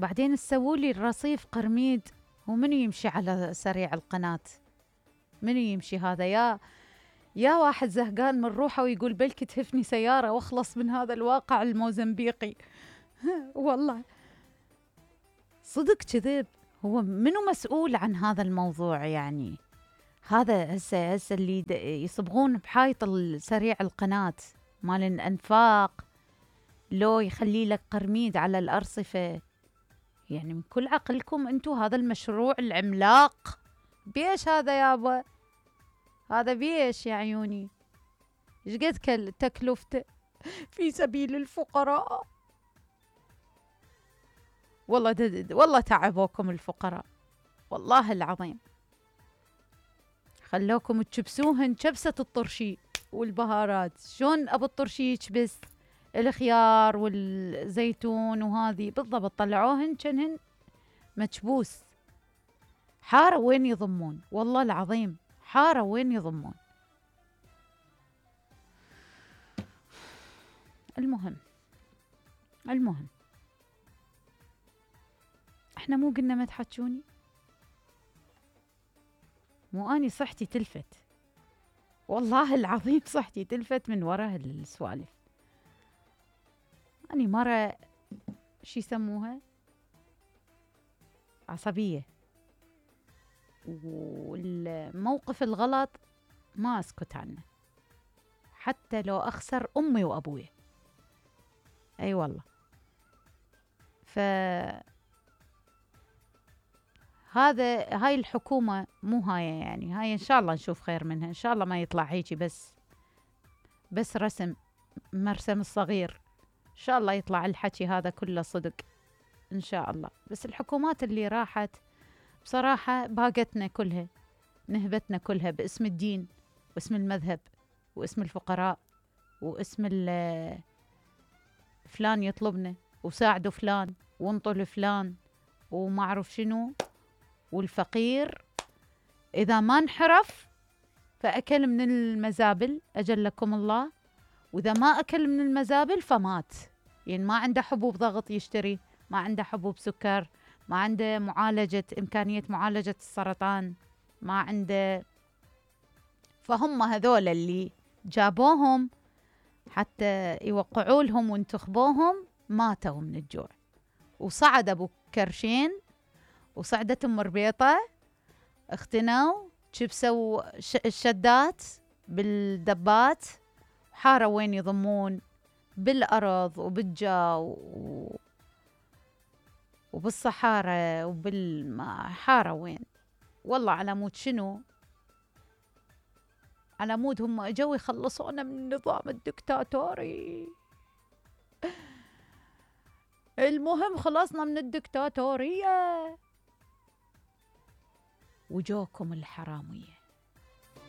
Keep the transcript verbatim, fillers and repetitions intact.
بعدين تسووا لي الرصيف قرميد، ومنو يمشي على سريع القناة؟ منو يمشي هذا؟ يا يا واحد زهقان من روحه ويقول بلكي تهفني سيارة واخلص من هذا الواقع الموزمبيقي. والله صدق كذب. هو منو مسؤول عن هذا الموضوع يعني؟ هذا هسه هسه اللي يصبغون بحايط سريع القناة مال الأنفاق، لو يخلي لك قرميد على الأرصفة. يعني من كل عقلكم انتو هذا المشروع العملاق بيش هذا يابا؟ هذا بيش يا عيوني؟ ايش قد تكلفته في سبيل الفقراء؟ والله دد والله تعبوكم الفقراء والله العظيم، خلوكم تشبسوهن شبسة الطرشي والبهارات. شلون ابو الطرشي يكبس الخيار والزيتون وهذه بالضبط، طلعوهن كنهن مكبوس. حارة وين يضمون؟ والله العظيم حارة وين يضمون. المهم المهم احنا مو قلنا ما تحجوني؟ مو اني صحتي تلفت، والله العظيم صحتي تلفت من وراء السوالف. اني مرة شي يسموها عصبية، والموقف الغلط ما اسكت عنه حتى لو اخسر امي وابوي. اي والله. ف هذا هاي الحكومة مو هاي يعني، هاي ان شاء الله نشوف خير منها، ان شاء الله ما يطلع هيجي بس بس رسم مرسم الصغير، ان شاء الله يطلع الحكي هذا كله صدق ان شاء الله. بس الحكومات اللي راحت بصراحة باقتنا كلها، نهبتنا كلها باسم الدين واسم المذهب واسم الفقراء واسم فلان يطلبنا وساعدوا فلان وانطوا فلان وما اعرف شنو. والفقير اذا ما انحرف فاكل من المزابل اجلكم الله، واذا ما اكل من المزابل فمات. يعني ما عنده حبوب ضغط يشتري، ما عنده حبوب سكر، ما عنده معالجة إمكانية معالجة السرطان، ما عنده. فهم هذول اللي جابوهم حتى يوقعوا لهم وانتخبوهم ماتوا من الجوع. وصعد أبو كرشين وصعدت أم ربيطة اختنوا شبسوا الشدات بالدبات، حارة وين يضمون بالأرض وبالجو وبالصحارى وبالحارة وين. والله على مود شنو؟ على مود هم اجوا يخلصونا من النظام الدكتاتوري. المهم خلصنا من الدكتاتورية وجوكم الحرامية.